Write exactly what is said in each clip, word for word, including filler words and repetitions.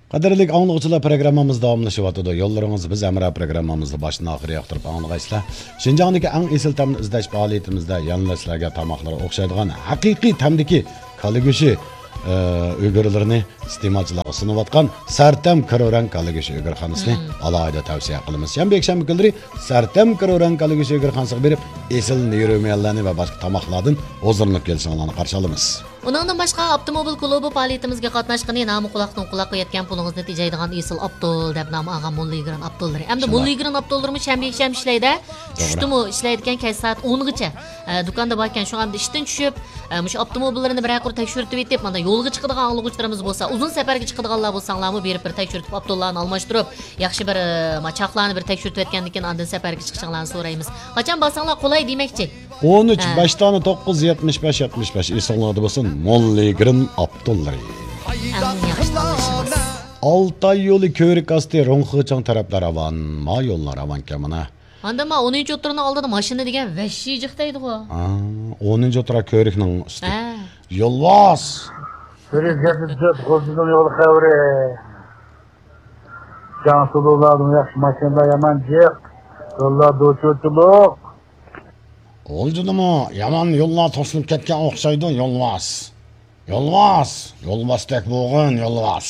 قەدىرلىك ئاڭلىغۇچىلار، پروگراممىمىز داۋاملىشىۋاتىدۇ. يوللىرىڭىز بىز ھەمراھ پروگراممىمىزنى باشتىن ئاخىر ياقتۇرۇپ ئاڭلىغايسىلەر. شىنجاڭدىكى ئەڭ ئېسىل تەمنى ئىزدەش پائالىيىتىمىزدە يەنىلا سىلەرگە تاماقلىرى ئوخشايدىغان ھەقىقىي تەمدىكى كالا گۆشى، ئە، ئۆگرىلىرىنى ئىستېمالچىلارغا سۇنۇۋاتقان سەرتەم كىرورەڭ كالا گۆشى ئۆگرىخانىسىنى ئالاھىدە تەۋسىيە قىلىمىز. يەنە يەكشەنبە كۈنلىرى سەرتەم كىرورەڭ كالا گۆشى ئۆگرىخانىسىغا بېرىپ، ئېسىل نېرۇمېنلارنى ۋە باشقا تاماقلاردىن ھۇزۇرلىنىپ كېلىشىڭلارنى قارشى ئالىمىز. ئۇنىڭدىن باشقا، ئاپتوموبىل كۇلۇبى پائالىيىتىمىزگە قاتناشقىنى نامى قۇلاقتىن قۇلاققا يەتكەن پۇلىڭىزنى تېجەيدىغان ئېسىل ئاپتول دەپ نام ئالغان موللىگرېن ئاپتوللىرى. ئەمدى شۇنداق. موللىگرېن ئاپتوللىرىمۇ شەنبە، يەكشەنبە ئىشلەيدۇ. توغرا. چۈشتىمۇ ئىشلەيدىكەن، كەچ سائەت ئونغىچە، ئە، دۇكاندا باركەن. شۇڭا ئەمدى ئىشتىن چۈشۈپ، ئە، مۇشۇ ئاپتوموبىللىرىنى بىرەر قۇر تەكشۈرتۈۋېتىپ، مانا يولغا چىقىدىغان ئاڭلىغۇچىلىرىمىز بولسا، ئۇزۇن سەپەرگە چىقىدىغانلار بولساڭلارمۇ بېرىپ بىر تەكشۈرتۈپ، ئاپتوللارنى ئالماشتۇرۇپ، ياخشى بىر، ئە، ما چاقلارنى بىر تەكشۈرتۈۋەتكەندىن كېيىن ئاندىن سەپەرگە چىقىشىڭلارنى سورايمىز. قاچان بارساڭلار قولاي دېمەكچى. ئون ئۈچ، ھە. بەش دانە، توققۇز، يەتمىش بەش، يەتمىش بەش. ئېسىڭلاردا بولسۇن، موللىگرېن ئاپتوللىرى. ئەڭ ياخشى تاللىشىڭىز. ئالتاي يولى كۆۋرۈك ئاستى روڭخېچاڭ تەرەپلەر راۋان. ما يوللار راۋانكەن مانا. ئاندىن ما ئونىنچى ئوتتۇرىنىڭ ئالدىدا ماشىنا دېگەن ۋەھشىي جىق دەيدىغۇ. ئا، ئونىنچى ئوتتۇرا كۆۋرۈكنىڭ ئۈستى. ھە. يولۋاس. بىر يۈز يەتمىش تۆت غۇلجىنىڭ يول خەۋىرى. جاڭسۇلۇلاردىن ياخشى ماشىنىلار يامان جىق. يوللار دوچۇرچىلىق. غۇلجىدىمۇ يامان يوللار توسۇلۇپ كەتكەن ئوخشايدۇ، يولۋاس. يولۋاس! يولۋاستەك بولغىن، يولۋاس!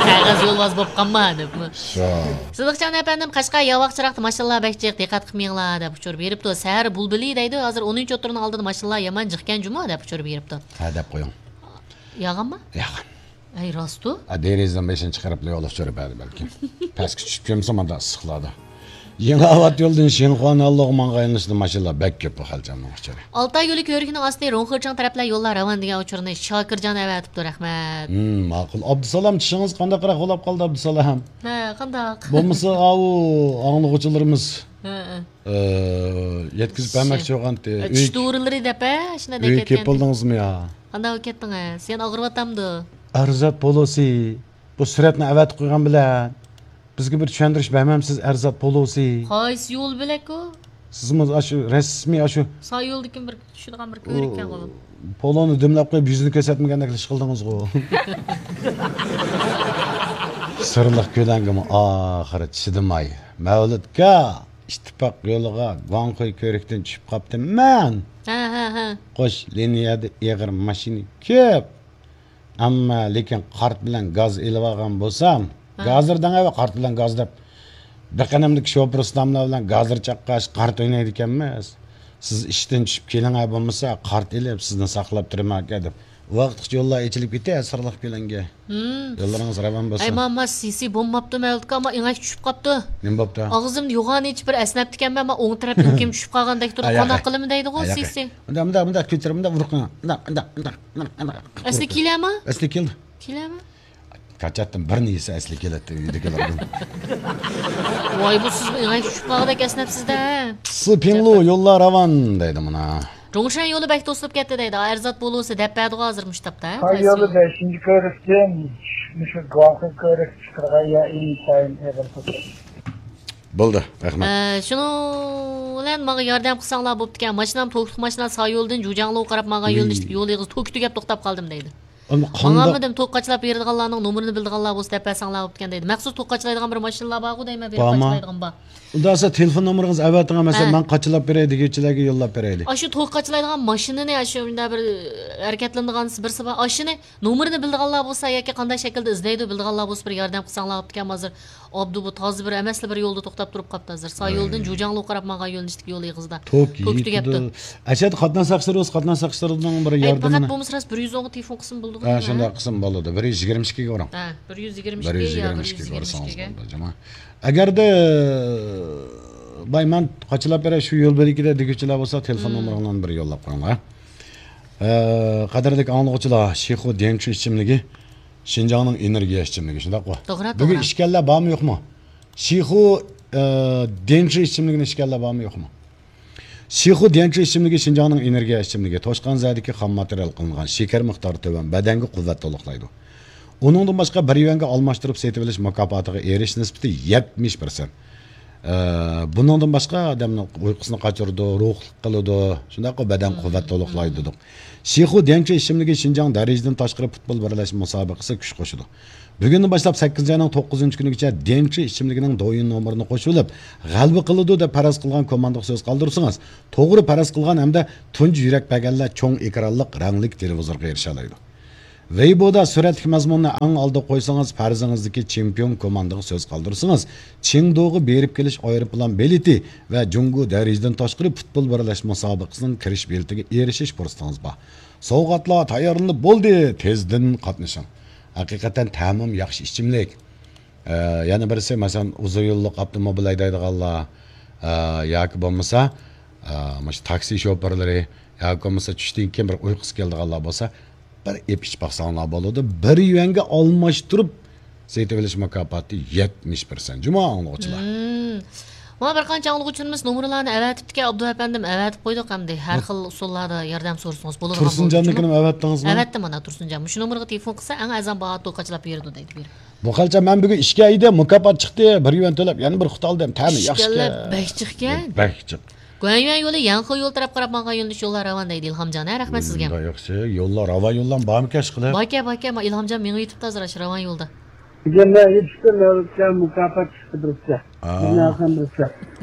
قەغەز يولۋاس بولۇپ قالما، دەپمۇ. شۇ. سىدىقجان ئەپەندىم، قەشقەر ياۋاق چىراغدا ماشىنىلار بەك جىق، دىققەت قىلمىڭلار، دەپ ئۇچۇر بېرىپتۇ. سەھەر بۇلبۇلى دەيدۇ، ھازىر ئونىنچى ئوتتۇرىنىڭ ئالدىدا ماشىنىلار يامان جىقكەن جۇمۇ، دەپ ئۇچۇر بېرىپتۇ. ھە، دەپ قويۇڭ. ياغانمۇ؟ ياغان. ئەي، راستۇ؟ ئا، دېرىزىنىڭ بېشىنى چىقىرىپ، يولغا چۈشۈرۈپ بەردى بەلكىم. پەسكە چۈشۈپ كەلمىسە، مانداق ئىسسىقلاردا. يېڭىئاۋات يولىدىن شىنخۇا نانلۇغا ماڭغان يۆنىلىشتە ماشىنىلار بەك كۆپ بۇ خەلچەمنىڭ ئۇچۇرى. ئالتاي يولى كۆۋرۈكىنىڭ ئاستى روڭخېچاڭ تەرەپلەر يوللار راۋان دېگەن ئۇچۇرنى شاكىرجان ئەۋەتىپتۇ، رەھمەت. ھىم، ماقۇل. ئابدۇسالام، چىشىڭىز قانداقراق بولاپ قالدى، ئابدۇسالام؟ ھە، قانداق؟ بولمىسا، ئاۋۇ ئاڭلىغۇچىلىرىمىز، ھە، ھە. ئە، يەتكۈزۈپ بەرمەكچى بولغانتى. ئە، ئۆي چىش دورىلىرى دەپ، ھە، شۇنداق ئۆيگە كېلىپ دەپ كەتكەنتى. بولدىڭىزمۇ يا؟ قانداق بولۇپ كەتتىڭ، ھە؟ سېنى ئاغرىۋاتامدۇ؟ ئەرزات پولۇسى. بۇ سۈرەتنى ئەۋەتىپ قويغان بىلەن بىزگە بىر چۈشەندۈرۈش بەرمەمسىز، ئەرزات پولۇسى؟ قايسى يول بىلەكۇ؟ سىزمۇ ئاشۇ رەسمىي ئاشۇ ساي يولدىكى بىر چۈشىدىغان بىر كۆۋرۈككەن غۇ. پولونى دۈملەپ قويۇپ، يۈزىنى كۆرسەتمىگەندەك ئىش قىلدىڭىزغۇ. سىرلىق كۆلەڭگىمۇ ئاخىرى چىدىماي، مەۋلۇتكا، ئىتتىپاق يولىغا گۇاڭخۇي كۆۋرۈكتىن چۈشۈپ قاپتىمەن. ھە، ھە، ھە. قوش لىنىيەدە ئېغىر ماشىنا كۆپ. ئەمما لېكىن قارت بىلەن گاز ئېلىۋالغان بولسام، ھە. گازىر دەڭ ئەۋە قارت بىلەن گاز دەپ. بىر قېنىمدىكى شوپۇر ئۇستاملار بىلەن گازىر چاققاچ قارت ئوينايدىكەنمىز. سىز ئىشتىن چۈشۈپ كېلىڭە بولمىسا، قارت ئېلىپ سىزنى ساقلاپ تۇرىمەنكەن دەپ. ۋاقىتقىچە يوللار ئېچىلىپ كېتە، سىرلىق كۆلەڭگە. ھىم. يوللىرىڭىز راۋان بولسۇن. ئەي، ماما، سىسى بولماپتۇ مەۋلۇتكا، ئەمما ئېڭەك چۈشۈپ قاپتۇ. نېمە بوپتۇ؟ ئاغزىمدا يوغان ئېچىپ بىر ئەسنەپتىكەنمەن، ئەمما ئوڭ تەرەپ ئۆپكەم چۈشۈپ قالغاندەك تۇرىدۇ. ھە، قانداق قىلىمەن دەيدىغۇ، ھە، سىسى. مۇنداق، مۇنداق، مۇنداق كۆتۈرۈپ، مۇنداق ئۇرۇق قويۇڭ. مۇنداق، مۇنداق، مۇنداق، مۇنداق، مۇنداق. ئەسلى كېلەمۇ؟ ئەسلى كېلدى. كېلەمۇ؟ كاچاتتىن بىرنى يېسە ئەسلى كېلەتتى ئۆيدىكىلەردىن. ۋاي، بۇ سىز ئېڭەك چۈشۈپ قالغۇدەك ئەسنەپسىز-دە. سىپىڭلۇ يوللار راۋان دەيدۇ مانا. جۇڭشەن يولى بەك توسۇلۇپ كەتتى دەيدۇ. ئەرزات بولۇسى دەپ بەردىغۇ ھازىر مۇشۇ تاپتا، ھە؟ ساي يولى بەشىنچى كۆۋرۈكتىن مۇشۇ گۇاڭخۇي كۆۋرۈككە چىقىدىغان يەر ئىنتايىن ئېغىر توسۇلۇپ. بولدى، رەھمەت. ئە، شۇنىڭ بىلەن ماڭا ياردەم قىلساڭلار بوپتىكەن. ماشىنام توكلۇق ماشىنا، ساي يولىدىن جۇجياڭلۇغا قاراپ ماڭغان يۆنىلىشتىكى يول ئېغىزى توكى تۈگەپ توختاپ قالدىم دەيدۇ. ئەمما قانداق؟ ماڭالمىدىم، توك قاچىلاپ بېرىدىغانلارنىڭ نومۇرىنى بىلىدىغانلار بولسا دەپ بەرسەڭلار بوپتىكەن دەيدۇ. مەخسۇس توك قاچىلايدىغان بىر ماشىنىلار بارغۇ دەيمەن، بېرىپ قاچىلايدىغان بار. ئۇندا سىز تېلېفون نومۇرىڭىزنى ئەۋەتىڭ، مەسىلەن، ھە. مەن قاچىلاپ بېرەي دېگۈچىلەرگە يوللاپ بېرەيلى. ئاشۇ توك قاچىلايدىغان ماشىنىنى، ئاشۇ مۇنداق بىر ھەرىكەتلىنىدىغان بىرسى بار. ئاشۇنى نومۇرىنى بىلىدىغانلار بولسا ياكى قانداق شەكىلدە ئىزدەيدۇ بىلىدىغانلار بولسا بىر ياردەم قىلساڭلار بوپتىكەن. ھازىر ئابدۇ بۇ تازا بىر ئەمەسلا بىر يولدا توختاپ تۇرۇپ قاپتۇ ھازىر. ساي يولىدىن جۇجياڭلۇغا قاراپ ماڭغان يۆنىلىشتىكى يول ئېغىزىدا. توك توك تۈگەپتۇ. ئەشەدە قاتناش ساقچىلىرى بولسا، قاتناش ساقچىلىرىنىڭ بىر ياردىمىنى. ئەي، پەقەت بولمىسا راست بىر يۈز ئوڭغا تېلېفون قىلسىمۇ بولىدىغۇ. ھە، شۇنداق قىلسىمۇ بولىدۇ. بىر يۈز يىگىرمە ئىككىگە ئۇرۇڭ. ھە، بىر يۈز يىگىرمە ئىككى يا بىر يۈز يىگىرمە ئىككىگە. ئۇرسىڭىز بولىدۇ، جۇما. ئەگەردە باي، مەن قاچىلاپ بېرەي شۇ يول بۆلىكىدە دېگۈچىلەر بولسا، تېلېفون نومۇرۇڭلارنى بىر يوللاپ قويۇڭلار. ئە، قەدىرلىك ئاڭلىغۇچىلار، شىخۇ ديەنچۈ ئىچىملىكى شىنجاڭنىڭ ئېنېرگىيە ئىچىملىكى، شۇنداققۇ؟ توغرا، بۈگۈن توغرا. ئىچكەنلەر بارمۇ يوقمۇ؟ شىخۇ، ئە، ديەنچۈ ئىچىملىكىنى ئىچكەنلەر بارمۇ يوقمۇ؟ شىخۇ ديەنچۈ ئىچىملىكى شىنجاڭنىڭ ئېنېرگىيە ئىچىملىكى. توشقان زەدىكى خام ماتېرىيال قىلىنغان، شېكەر مىقدارى تۆۋەن، بەدەنگە قۇۋۋەت تولۇقلايدۇ. ئۇنىڭدىن باشقا، بىر يۈەنگە ئالماشتۇرۇپ سېتىۋېلىش مۇكاپاتىغا ئېرىشىش نىسبىتى يەتمىش پىرسەنت. ئە، بۇنىڭدىن باشقا ئادەمنىڭ ئۇيقۇسىنى قاچۇرىدۇ، روھلۇق قىلىدۇ، شۇنداقلا بەدەن قۇۋۋەت تولۇقلايدۇ دېدۇق. شىخۇ ديەنچى ئىچىملىكى شىنجاڭ دەرىجىدىن تاشقىرى پۇتبول بىرلەشمە مۇسابىقىسىگە كۈچ قوشىدۇ. بۈگۈندىن باشلاپ سەككىزىنچى ئاينىڭ توققۇزىنچى كۈنىگىچە ديەنچى ئىچىملىكىنىڭ دويىن نومۇرىنى قوشۇۋېلىپ، غەلىبە قىلىدۇ دەپ پەرەز قىلغان كوماندىغا سۆز قالدۇرسىڭىز، توغرا پەرەز قىلغان ھەمدە تۇنجى يۈرەك بەرگەنلەر چوڭ ئېكرانلىق رەڭلىك تېلېۋىزورغا ئېرىشەلەيدۇ. ۋېيبودا سۈرەتلىك مەزمۇننى ئەڭ ئالدىغا قويسىڭىز، پەرىزىڭىزدىكى چېمپىيون كوماندىغا سۆز قالدۇرسىڭىز، چېڭدۇغا بېرىپ كېلىش ئايروپىلان بېلىتى ۋە جۇڭگو دەرىجىدىن تاشقىرى پۇتبول بىرلەشمە مۇسابىقىسىنىڭ كىرىش بېلىتىگە ئېرىشىش پۇرسىتىڭىز بار. سوۋغاتلار تەييارلىنىپ بولدى، تېزدىن قاتنىشىڭ. ھەقىقەتەن تەمۇم ياخشى ئىچىملىك. ئە، يەنە بىرسى، مەسىلەن، ئۇزۇن يوللۇق ئاپتوموبىل ھەيدەيدىغانلار، ئە، ياكى بولمىسا، ئە، مۇشۇ تاكسى شوپۇرلىرى ياكى بولمىسا چۈشتىن كېيىن بىر ئۇيقۇسى كېلىدىغانلار بولسا، بىر ئېپ ئىچىپ باقساڭلار بولىدۇ. بىر يۈەنگە ئالماشتۇرۇپ سېتىۋېلىش مۇكاپاتى يەتمىش پىرسەنت. جۇمۇ ئاڭلىغۇچىلار. مم. مانا بىر قانچە ئاڭلىغۇچىلىرىمىز نومۇرلارنى ئەۋەتىپتىكەن، ئابدۇ ئەپەندىم، ئەۋەتىپ قويدۇق ئەمدى. ھەر خىل ئۇسۇللاردا ياردەم سورىسىڭىز بولىدىغان بولدى. تۇرسۇنجاننىڭكىنىمۇ ئەۋەتتىڭىزمۇ؟ ئەۋەتتىم مانا تۇرسۇنجان. مۇشۇ نومۇرغا تېلېفون قىلسا ئەڭ ئەرزان باھا توقاچلاپ بېرىدۇ دەيدۇ بېرىپ. بۇ قالچا مەن بۈگۈن ئىشكە ئىدىم، مۇكاپات چىقتى، بىر يۈەن تۆلەپ يەنە بىر قۇت ئالدىم. تەمى ياخشىكەن. ئىشكەنلەر بەك جىقكەن. بەك جىق. گۇەنيۈەن يولى يەنخې يولى تەرەپ قاراپ ماڭغان يۆنىلىش يوللار راۋان دەيدۇ ئىلھامجان، ھە، رەھمەت سىزگە. مۇنداق ياخشى. يوللار راۋان يوللار بارمىكەن ئىشقىلىپ؟ باركەن، باركەن، ما ئىلھامجان مېڭىۋېتىپتۇ ھازىر ئاشۇ راۋان يولدا. بۈگۈن مەن يېتىشتىم، مەۋلۇتكە مۇكاپات چىقتى بىرسى. ھا. بىرنى ئالسام بىرسى.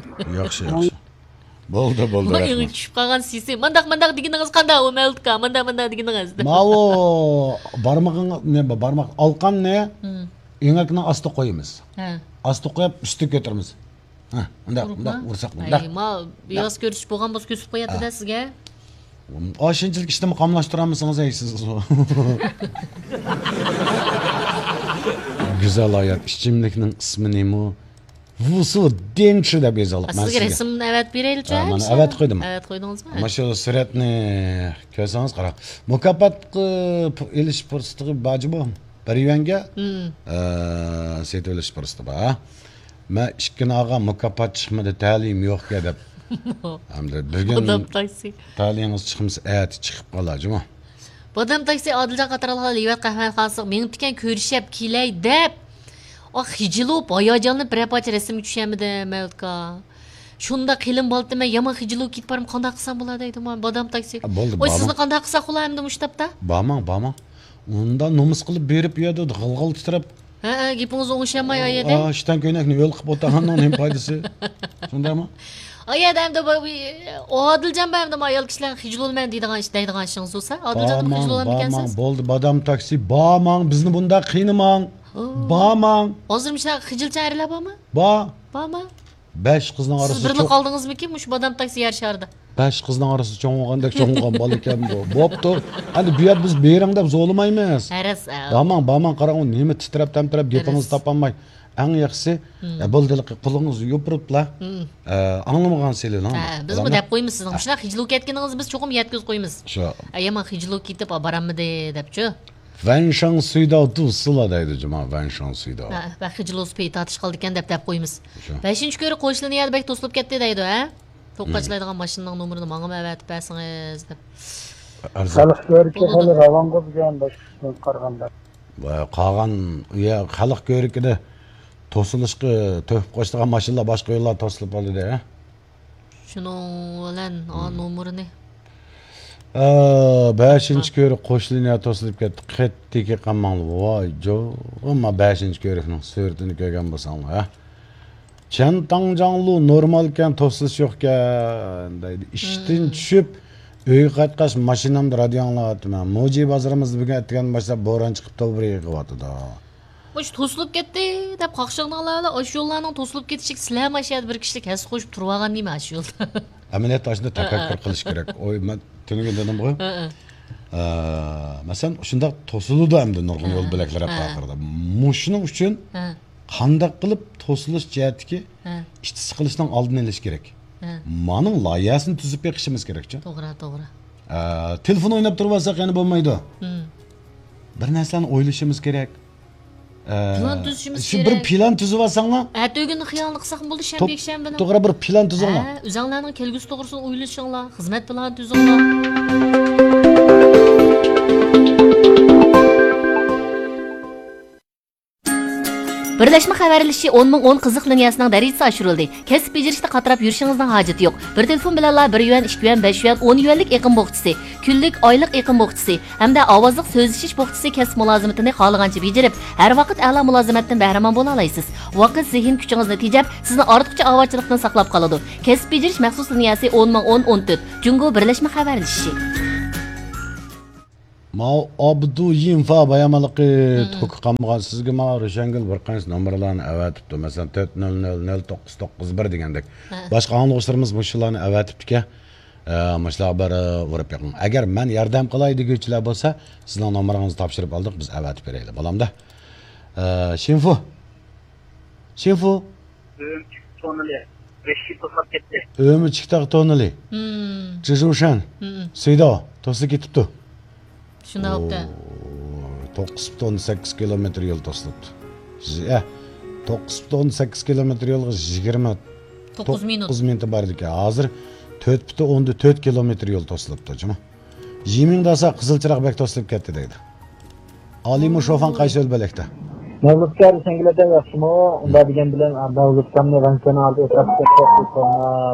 ياخشى، ياخشى. بولدى، بولدى، رەھمەت. ئېڭى چۈشۈپ قالغان سېسى. مانداق، مانداق دېگىنىڭىز قانداق ئۇ مەۋلۇتكا؟ مانداق، مانداق دېگىنىڭىز دەپ. ماۋۇ بارمىقىڭ، نېمە، بارماق ئالقاننى ئېڭەكنىڭ ئاستىغا قويىمىز. ھە. ئاستىغا قويۇپ، ئۈستىگە كۆتۈرىمىز. ھە، مۇنداق، مۇنداق ئۇرساق، مۇنداق. ئەي، ما، ياس كۆرسىتىش بولغان بولسا كۆرسىتىپ قوياتتى-دە سىزگە. ئاشۇنچىلىك ئىشنىمۇ قاملاشتۇرالمىسىڭىز، ئەي، سىز. گۈزەل ھايات، ئىچىملىكنىڭ ئىسمى نېمە؟ ۋۇسۇ دېنچى دەپ يېزىلىپ. مەن سىزگە رەسىمنى ئەۋەتىپ بېرەيلىچۇ، ھە، مانا ئەۋەتىپ قويدۇم. ئەۋەتىپ قويدىڭىزمۇ؟ مانا شۇ سۈرەتنى كۆرسىڭىز قاراڭ. مۇكاپاتقا پۇ-، ئېلىش پۇرسىتىغا بارجۇ بۇ؟ بىر يۈەنگە، ئە، سېتىۋېلىش پۇرسىتى بار. مەن ئىككى ناغا مۇكاپات چىقمىدى، تەلىيىم يوقكەن دەپ. ئەمدى بۈگۈن بادام تاكسى. تەلىيىڭىز چىقمىسا، ئەتە چىقىپ قالار جۇمۇ. بادام تاكسى ئادىلجان قاتارالغان لىۋەت قەھۋەخانىسىغا مېڭىپتىكەن، كۆرۈشەپ كېلەي دەپ. ئا، خىجىلۇپ، ھاياجانلىنىپ بىرەر پارچە رەسىمگە چۈشەلمىدىم، مەۋلۇتكا. شۇنداق قېلىن بالىتىمەن، يامان خىجىلىپ كېتىپ بارمەن، قانداق قىلسام بولا دەيدۇ، ما، بادام تاكسى. ۋاي، سىزنى قانداق قىلساق بولا ئەمدى مۇشۇ تاپتا؟ بارماڭ، بارماڭ. ئۇنداق نومۇس قىلىپ بېرىپ، ئۇ يەردە غىل-غىل تىترەپ. ھە، ھە، گېپىڭىز ئوڭشىماي ئايەدە. ئا، ئىشتان كۆينەكنى ھۆل قىلىپ ئوتۇرغاننىڭ نېمە پايدىسى؟ شۇنداقمۇ؟ ئايەدە ئەمدى بۇ، ئادىلجان بار ئەمدى، ما ئايال كىشىلەر خىجىل بولىمەن دەيدىغان ئىش، دەيدىغان ئىشىڭىز بولسا، ئادىلجان خىجىل بارماڭ، بولامدىكەنسىز؟ بارماڭ، بولدى، بادام تاكسى، بارماڭ، بىزنى بۇنداق قىينىماڭ. بارماڭ. ھازىر مۇشۇنداق خىجىلچان ئەرلەر بارمۇ؟ بار. بارمۇ؟ بەش قىزنىڭ ئارىسىدا سىز بىرلا قالدىڭىزمىكىن مۇشۇ بادام تاكسى يەر شارىدا؟ بەش قىزنىڭ ئارىسىدا چوڭ بولغاندەك چوڭ بولغان بالا ئىكەن بۇ. بوپتۇ. ئەمدى بۇ يەردە بىز بېرىڭ دەپ زورلىمايمىز. ھەرەس، ئە. بارماڭ، بارماڭ، قاراڭ، ئۇ نېمە تىترەپ، تەمتىرەپ، گېپىڭىزنى تاپالماي. ئەڭ ياخشىسى، ئە، بولدى، قولىڭىزنى يوپۇرۇپلا، ئە، ئاڭلىمىغان سېلىڭ. ھە، بىزمۇ دەپ قويىمىز سىزنىڭ مۇشۇنداق خىجىل بولۇپ كەتكىنىڭىزنى بىز چوقۇم يەتكۈزۈپ قويىمىز. شۇ. ئە، يامان خىجىل بولۇپ كېتىپ، بارالمىدى دەپچۇ. ۋەنشاڭ سۈيداۋ دۇسىلا دەيدۇ جۇما، ۋەنشاڭ سۈيداۋ. ھە، ۋە خىجىل بولسا پېيى تارتىش قالىدىكەن دەپ دەپ قويىمىز. شۇ. بەشىنچى كۆرۈك قوشلىنى يەردە بەك توسۇلۇپ كەتتى دەيدۇ، ھە؟ توقاچلايدىغان ماشىنىنىڭ نومۇرىنى ماڭىمۇ ئەۋەتىپ بەرسىڭىز دەپ. ئەرزان. خەلق كۆرۈكى خېلى راۋانغۇ بۈگۈن باشقىسىغا قارىغاندا. ۋە قالغان، يا، خەلق كۆرۈكىدە توسۇلۇشقا تۆھپە قوشىدىغان ماشىنىلار باشقا يوللاردا توسۇلۇپ قالدى، ھە؟ شۇنىڭ بىلەن، ئا، نومۇرىنى. ئا، بەشىنچى كۆرۈك قوشلىنى توسۇلۇپ كەتتى. قېتىكى قالماڭلار. ۋاي جوغىما بەشىنچى كۆرۈكنىڭ سۈرىتىنى كۆرگەن بولساڭلار، ھە؟ چيەنتاڭجاڭلۇ نورمالكەن، توسۇلۇش يوقكەن دەيدۇ. ئىشتىن چۈشۈپ، ئۆيگە قايتقاچ ماشىنامدا رادىيو ئاڭلاۋاتىمەن. موجى بازىرىمىزدا بۈگۈن ئەتىگەندىن باشلاپ بوران چىقىپ توۋا يېغىۋاتىدۇ. مۇشۇ توسۇلۇپ كەتتى دەپ قاقشىغىنىڭلار بىلەن ئاشۇ يوللارنىڭ توسۇلۇپ كېتىشىگە سىلەرمۇ ئاشۇ يەردە بىر كىشىلىك ھەسسە قوشۇپ تۇرۇۋالغان نېمە ئاشۇ يولدا؟ ئەمەلىيەتتە ئاشۇنداق تەپەككۇر قىلىش كېرەك. ئوي، مەن تۈنۈگۈن دېدىمغۇ. ئە، مەسىلەن، شۇنداق توسۇلىدۇ ئەمدى نۇرغۇن يول بۆلەكلىرى ئاخىرىدا. مۇشۇنىڭ ئۈچۈن قانداق قىلىپ توسۇلۇش جەھەتتىكى ئىچ سىقىلىشنىڭ ئالدىنى ئېلىش كېرەك. مانىڭ لايىھەسىنى تۈزۈپ بېقىشىمىز كېرەكچۇ. توغرا، توغرا. ئە، تېلېفون ئويناپ تۇرۇۋالساق يەنە بولمايدۇ. بىر نەرسىلەرنى ئويلىشىمىز كېرەك. ئە، پىلان تۈزۈشىمىز شۇ بىر كېرەك. پىلان تۈزۈۋالساڭلار. ئەتىگۈننى خىيالنى قىلساقمۇ بولدى، شەنبە، يەكشەنبىنىڭ. توغرا، بىر پىلان تۈزۈڭلار. ھە، ئۆزۈڭلارنىڭ كەلگۈسى توغرىسىدا ئويلىشىڭلار، خىزمەت پىلانى تۈزۈڭلار. بىرلەشمە خەۋەرلىشىشى ئون مىڭ ئون قىزىق لىنىيەسىنىڭ دەرىجىسى ئاشۇرۇلدى. كەسىپ بېجىرىشتە قاتراپ يۈرۈشىڭىزنىڭ ھاجىتى يوق. بىر تېلېفون بىلەنلا بىر يۈەن، ئىككى يۈەن، بەش يۈەن، ئون يۈەنلىك ئېقىم بوخچىسى، كۈنلۈك، ئايلىق ئېقىم بوخچىسى ھەمدە ئاۋازلىق سۆزلىشىش بوخچىسى كەسىپ مۇلازىمىتىنى خالىغانچە بېجىرىپ، ھەر ۋاقىت ئەلا مۇلازىمەتتىن بەھرىمەن بولالايسىز. ۋاقىت، زېھىن كۈچىڭىزنى تېجەپ، سىزنى ئارتۇقچە ئاۋارىچىلىقتىن ساقلاپ قالىدۇ. كەسىپ بېجىرىش مەخسۇس لىنىيەسى ئون مىڭ ئون ئون تۆت، جۇڭگو بىرلەشمە خەۋەرلىشىشى. ماۋۇ ئابدۇيىنفا بايانمانلىقى توكى قالمىغان. سىزگە ماۋۇ روشەنگۈل بىر قانچە نومۇرلارنى ئەۋەتىپتۇ. مەسىلەن، تۆت نۆل نۆل نۆل توققۇز توققۇز بىر دېگەندەك. ھە. باشقا ئاڭلىغۇچىلىرىمىز مۇشۇلارنى ئەۋەتىپتىكەن. ئە، مۇشۇلارغا بىر، ئە، ئۇرۇپ بېقىڭ. ئەگەر مەن ياردەم قىلاي دېگۈچىلەر بولسا، سىزنىڭ نومۇرىڭىزنى تاپشۇرۇپ ئالدۇق، بىز ئەۋەتىپ بېرەيلى. بولامدا؟ ئە، شىنفۇ. شىنفۇ. ئۈرۈمچى توننىلى بەش يىل توسلاپ كەتتى. ئۈرۈمچى تاغ توننىلى. مم. جىژۇشەن. مم. سىداۋ توسۇپ كېتىپتۇ. شۇنداق بوپتۇ. توققۇز پۈتۈن سەككىز كىلومېتىر يول توسۇلۇپتۇ. ئە، توققۇز پۈتۈن سەككىز كىلومېتىر يولغا يىگىرمە توققۇز مىنۇت. توققۇز مىنۇت بار ئىكەن. ھازىر تۆت پۈتۈن ئوندىن تۆت كىلومېتىر يول توسۇلۇپتۇ، جۇمۇ. يىمىڭداسا قىزىل چىراغ بەك توسۇلۇپ كەتتى دەيدۇ. ئالىمۇ شوفان قايسى ئۆلبەلەكتە؟ مەۋلۇتكە سەنگىلەردە ياخشىمۇ؟ ئۇنداق دېگەن بىلەن، مەۋلۇتكامنى رەنكىنىڭ ئالدىدا ئولتۇرۇپ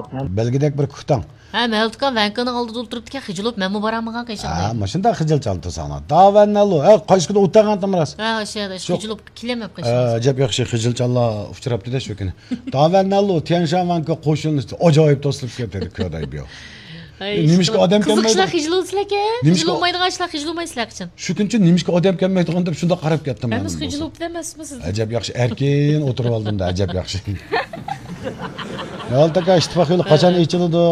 كەتتى. بەلگىدەك بىر كۈتەڭ. ھە، مەۋلۇتكام رەنكىنىڭ ئالدىدا ئولتۇرۇپتىكەن، خىجىل بولۇپ مەنمۇ بارالمىغان قېشىڭدا. ھە، مۇشۇنداق خىجىل چالتىساڭلار. داۋەننەلۇ. ھە، قايسى كۈنى ئولتۇرغان تىمراس. ھە، شۇ، شۇ خىجىل بولۇپ كېلەلمەپ قېشىڭدا. ئەجەب ياخشى خىجىل چاللار ئۇچراپتۇ-دە شۇ كۈنى. داۋەننەلۇ، تيەنشان ۋەنكو قوشۇنى ئاجايىپ توسۇلۇپ كەتتى، كۆدەي بىيو. ئەي، نېمىشقا ئادەم قىزىق كەلمەيدۇ؟ ئىشلار خىجىل بولسىلەكەن. نېمىشقا؟ خىجىل بولمايدىغان ئىشلار خىجىل بولمايسىلەر قېچان. شۇ كۈنچە نېمىشقا ئادەم كەلمەيدىغان دەپ شۇنداق قاراپ كەتتىم مەن. ئەمىسە خىجىل بولۇپتۇ ئەمەسمۇ سىز؟ ئەجەب ياخشى، ئەركىن ئولتۇرۇۋالدىم-دە، ئەجەب ياخشى. يالتا ئاكا، ئىتتىپاق يولى قاچان ئېچىلىدۇ؟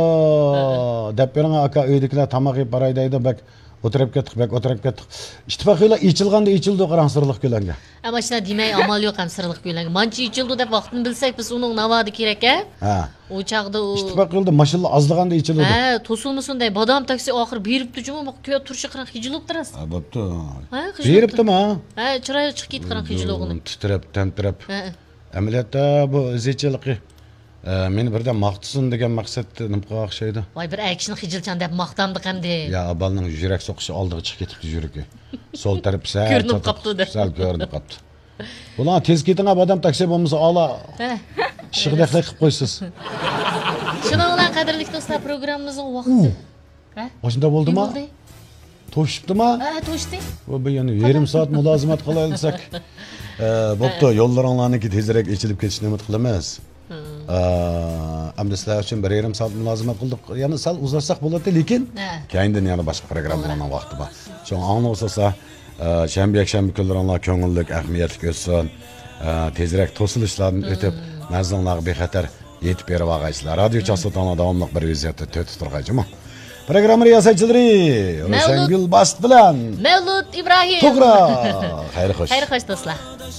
دەپ بېرىڭ ئاكا، ئۆيدىكىلەر تاماق يەپ باراي دەيدۇ، بەك ئولتۇرۇپ كەتتۇق، بەك ئولتۇرۇپ كەتتۇق. ئىتتىپاق يولى ئېچىلغاندا ئېچىلىدۇ، قاراڭ، سىرلىق كۆلەڭگە. ئەمما شۇنداق دېمەي، ئامال يوق ھەم سىرلىق كۆلەڭگە. مانچە ئېچىلىدۇ دەپ ۋاقتىنى بىلسەك، بىز ئۇنىڭ ناۋادا كېرەك، ھە؟ ھە. ئۇ چاغدا ئۇ ئىتتىپاق يولىدا ماشىنىلار ئازلىغاندا ئېچىلىدۇ. ھە، توسۇلمىسۇن دەي، بادام تاكسى ئاخىر بېرىپتۇ جۇمۇ، بۇ كۆ-، تۇرۇشى قاراڭ خىجىل بوپتۇ راست. ھە، بوپتۇ. ھە، خىجىل بېرىپتۇمۇ؟ ھە، چىرايلىق چىقىپ كېتىدۇ قاراڭ خىجىل بولغىنى. تىترەپ، تەمتىرەپ. ھە. ئەمەلىيەتتە بۇ ئىزچىللىقى، ئە، مېنى بىردەم ماختىسۇن دېگەن مەقسەت نېمە قىلغان ئوخشايدۇ؟ ۋاي، بىر ئەر كىشىنى خىجىلچان دەپ ماختامدىق ئەمدى. يا، بالىنىڭ يۈرەك سوقۇشى ئالدىغا چىقىپ كېتىپتۇ يۈرىكى. سول تەرىپى سەل كۆرۈنۈپ قاپتۇ دە. سەل كۆرۈنۈپ قاپتۇ. بۇلار تېز كېتىڭە، بادام تاكسى بولمىسا ئالا. ھە. ئىششىقىدەكلا قىلىپ قويىسىز. شۇنىڭ بىلەن قەدىرلىك دوستلار، پروگراممىمىزنىڭ ۋاقتى. ئۇ. ھە؟ ئاشۇنداق نېمە بولدىما؟ بولدى؟ توشۇپتىما؟ ھە، توشتى. بۇ، بۇ يەنە يېرىم سائەت مۇلازىمەت قىلايلىساق. ئە، بوپتۇ، ھە. يوللىرىڭلارنىڭكى تېزرەك ئېچىلىپ كېتىشىنى ئۈمىد قىلىمىز. ھىم. ئە، ئەمدى سىلەر ئۈچۈن بىر يېرىم سائەت مۇلازىمەت قىلدۇق. يەنە سەل ئۇزارتساق بولاتتى، لېكىن ھە. كەينىدىن يەنە باشقا پروگراممىلارنىڭ ۋاقتى بار. شۇڭا ئاڭلىغۇچىلار، ئە، شەنبە، يەكشەنبە كۈنلىرىڭلار كۆڭۈللۈك، ئەھمىيەتلىك ئۆتسۇن. ئە، تېزرەك توسۇلۇشلاردىن ئۆتۈپ، ھىم. مەنزىلىڭلارغا بىخەتەر يېتىپ بېرىۋالغايسىلەر. رادىيو چاستوتاڭلار داۋاملىق بىر ۋەزىيەتتە تۆت تۇرغايچۇمۇ. پروگرامما رىياسەتچىلىرى مەۋلۇت. روشەنگۈل باست بىلەن مەۋلۇت ئىبراھىم. توغرا. خەير خوش. خەير خوش دوستلار.